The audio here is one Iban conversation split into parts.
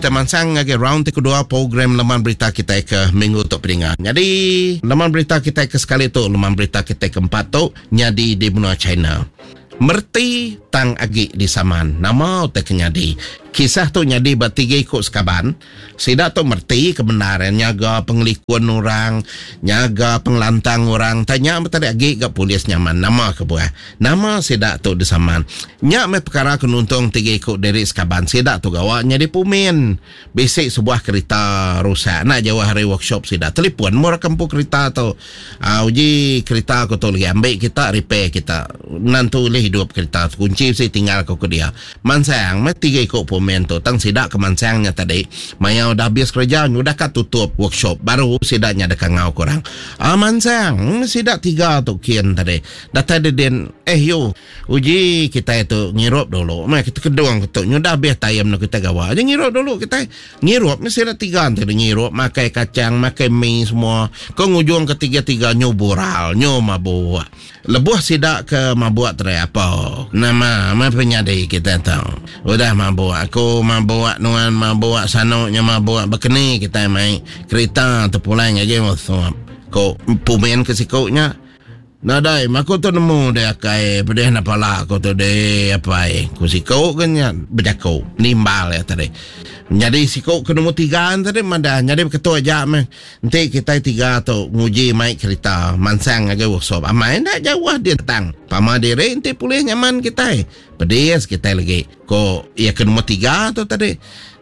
Kita mansang ngagai round ti kedua program leman berita kitai ke minggu tu peninga. Nyadi leman berita kitai ke sekali tu leman berita kitai ke empat tu nyadi di menua China. Mereti tang agi disaman nama utai ke nyadi. Kisah tu nyadi ba tiga iku sekaban. Sida tu mereti ke bendar iya nyaga pengelikun orang, nyaga pengelantang orang. Tanya meh tadi agi ga polis nyaman nama kebuah. Nama sida tu disaman. Nya meh pekara ke nuntung tiga iku diri sekaban sida tu gawa nyadi pumin. Bisi sebuah kerita rusak enda jauh ari workshop sida. Telefon meh orang ke empu kerita tu. Aa uji kerita aku tu lagi ambi kita repair kita. Nentu ulih idup kerita tu. Kunchi bisi tinggal ku ke dia. Mansang meh tiga iku pomen tu tang sida ke mansang nya tadi maya udah habis kereja nyudah ka tutup workshop baru sida nya deka ngau ke orang. Aa mansang meh sida tiga tu kin tadi datai dedin eh yu uji kitai tu ngirup dulu meh kita kedung tu nyudah habis time nu kitai gawa aja ngirup dulu kitai ngirup meh sida tiga enti ngirup makai kachang makai mi semua ke ngujung ke tiga-tiga nyu bural nyu mabuk. Lebuh sida ke mabuk tadi apo nama meh penyadi kita tu. Udah mabuk aku mabuk nuan mabuk sanu nya mabuk bekeni kitai mai kerita tepulai ngagai workshop ko pumin ke siku nya. Nadai meh aku tu nemu deh akai pedih enda pala aku tu deh apai ku siku ke nya bejaku nimbal iya tadi. Nyadi siku ke nombor tiga tadi madah nyadi beketu aja meh. Enti kitai tiga tu nguji mai kerita mansang ngagai workshop amai enda jauh dia tang pama diri enti pulih nyaman kitai pedis kitai legi ko iya ke nombor tiga tu tadi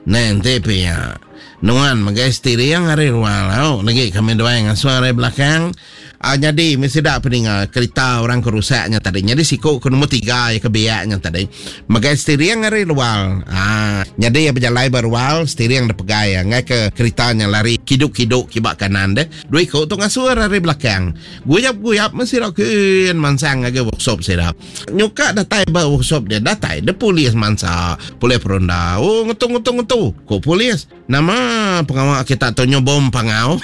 neh enti pia nuan megai steering ari ruang lau legi kami duai ngasuh ari belakang Aa nyadi meh sida peninga kerita orang ke rusak nya tadi. Nyadi siku ke nombor tiga iya ke biak nya tadi megai steering ari luar. Aa nyadi iya bejalai ba rual steering da pegai iya enggai ke kerita nya lari kidu-kidu kiba kanan deh. Dua iku tu ngasur ari belakang. Guyap-guyap meh sida kin mansang ngagai workshop sida. Nyuka datai ba workshop dia datai deh polis mansa polis peronda. Oh ngetu ngetu ngetu ku polis. Nama pengawa kita tu nyu bom pangau?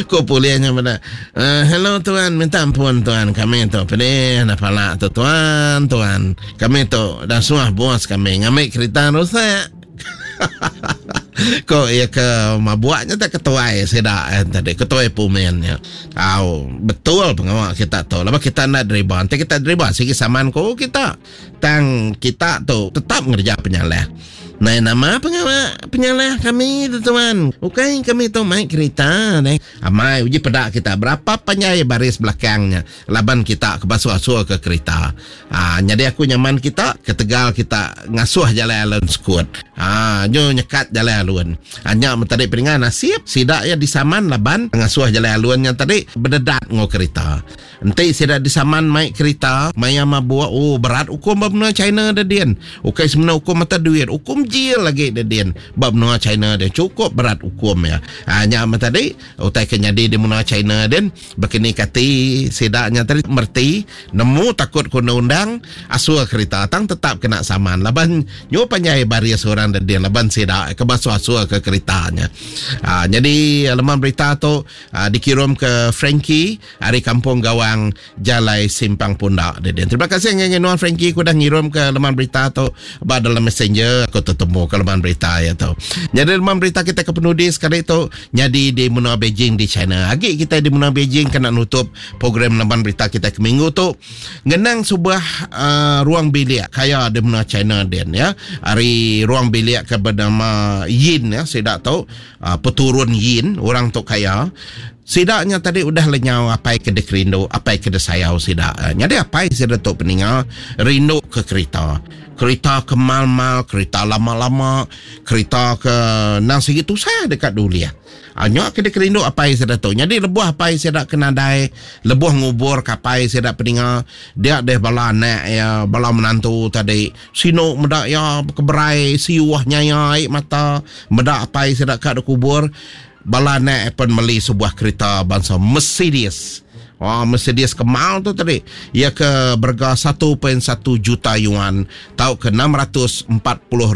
Ku pulih nya meda. Uh, hello tuan, minta ampun tuan. Kami tu pedih dah pala tu tuan, tuan. Kami tu dah suah bos kami ngambi kerita rusak. Ko iya ke mabuk nya tak ketuai sida eh, tadi, ketuai pumen nya. Au, betul pengawa kita tu. Laban kita enda deriba. Enti kita deriba sigi saman ko kita. Tang kita tu tetap ngereja penyalah. Nai nama pengawa penyalah kami tu tuan. Ukai kami tu mai kerita neh. Amai uji peda kita berapa panjai baris belakang nya laban kita ke basuh-asuh ke kerita. Aa nyadi aku nyaman kita ketegal kita ngasuh jalai alun sekut. Aa nyu nyekat jalai alun. Aa nya men tadi peninga nasib sida iya disaman laban ngasuh jalai alun nya tadi bededat enggau kerita. Enti sida disaman mai kerita maya mabuk, oh berat ukum ba menua China da din. Ukai semina ukum mata duit, ukum jil agi da din ba menua China din. Chukup berat ukum iya. Ha nya meh tadi utai ke nyadi di menua China din bekeni kati sida nya tadi mereti nemu takut ke undang-undang asuh kerita tang tetap kena saman laban nyu panjai baris orang da din laban sida ke basuh-asuh ke kerita nya. Ha nyadi leman berita tu dikirum ke Frankie. Ari Kampung Gawang, Jalai Simpang Punda didin. Terima kasih ngagai nuan Frankie ku udah ngirum ke leman berita tu ba dalam messenger aku tetemu ke leman berita iya tu. Nyadi leman berita kita ke penudi sekali tu nyadi di menua Beijing di China. Agi kita di menua Beijing kena nutup program leman berita kita ke minggu tu ngenang sebuah uh, ruang bilik kaya di menua China din ya. Ari ruang bilik ke bernama Yin ya sida tu uh, peturun Yin orang tu kaya. Sida nya tadi udah lenyau apai ke dikerindu, apai ke disayau sida. Nyadi apai sida tu peninga rindu ke kerita. Kerita ke mal-mal, kerita lama-lama, kerita ke endang sigi tusah deka diulih. Nya ke dikerindu apai sida tu. Nyadi lebuh apai sida ke nadai, lebuh ngubur ke apai sida peninga, dia deh bala anak iya, bala menantu tadi sinu meda iya bekeberai siuh nyaya ai mata meda apai sida ka dikubur. Bala anak pen meli sebuah kerita bansa Mercedes. Wah, Mercedes ke mal tu tadi. Iya ke berega 1.1 juta yuan tauka 640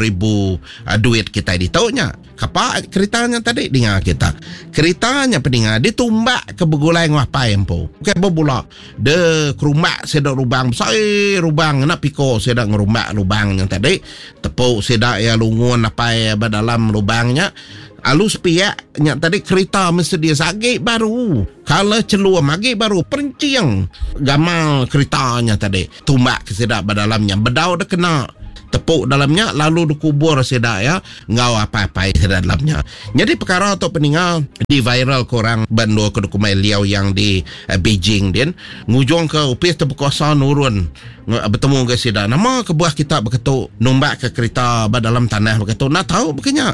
ribu uh, duit kitai ditu nya. Kapa kerita nya tadi dinga kita. Kerita nya peninga ditumbak ke begulai enggau apai empu. Bukai bebula de kerumbak sida lubang besai lubang ngena piko sida ngerumbak lubang nya tadi. Tepu sida iya lungun apai ba dalam lubang nya. Alu sepiak nya tadi kerita Mercedes agi baru. Kala chelum agi baru perencing gamal kerita nya tadi. Tumbak ke sida ba dalam nya bedau de kena tepu dalam nya lalu dikubur sida iya enggau apai-apai sida dalam nya. Nyadi pekara tu peninga di viral ke orang ba endur ke dikumbai Liaoyang di Beijing din ngujung ke opis ti bekuasa nurun betemu enggau sida. Nama kebuah kita beketu numbak ke kerita ba dalam tanah beketu enda tau baka nya.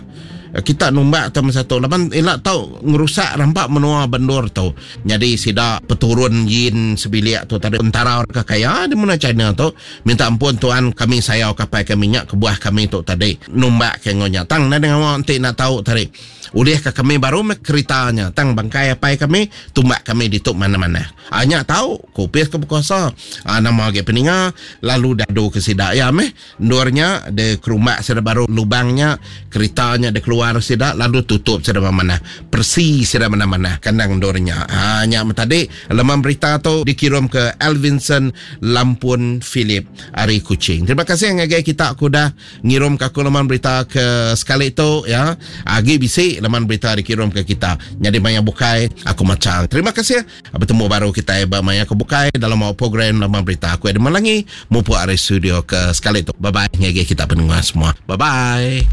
Kita numbak tu masa tu laban ila tau ngerusak rampa menua ba endur tu. Nyadi sida peturun Yin sebilik tu tadi entara orang ke kaya di menua China tu minta ampun tuan kami sayau ke apai kami nya kebuah kami tu tadi numbak ke enggau nya. Tang nadai ngawa enti enda tau tadi ulih ka kami baru meh kerita nya tang bangkai apai kami tumbak kami ditu manah-manah. Aa nya tau, ku opis ke bekuasa. Aa nama agi peninga lalu dadu ke sida iya meh. Endur nya de kerumbak sida baru lubang nya, kerita nya de keluar sida lalu tutup sida manah. Peresi sida manah-manah kandang endur nya. Aa nya meh tadi leman berita tu dikirum ke Elvinson Lampun Philip ari Kuching. Terima kasih ngagai kita ke udah Ngirum ke aku leman berita ke sekali tu ya. Agi bisi leman berita dikirum ke kita. Nyadi maya bukai aku macha. Terima kasih. Betemu baru kitai ba maya ke bukai dalam awak program leman berita. Aku Edmund Langi mupuk ari studio ke sekali tu. Bye bye ngagai kita pendengar semua. Bye bye.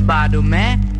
Badu meh.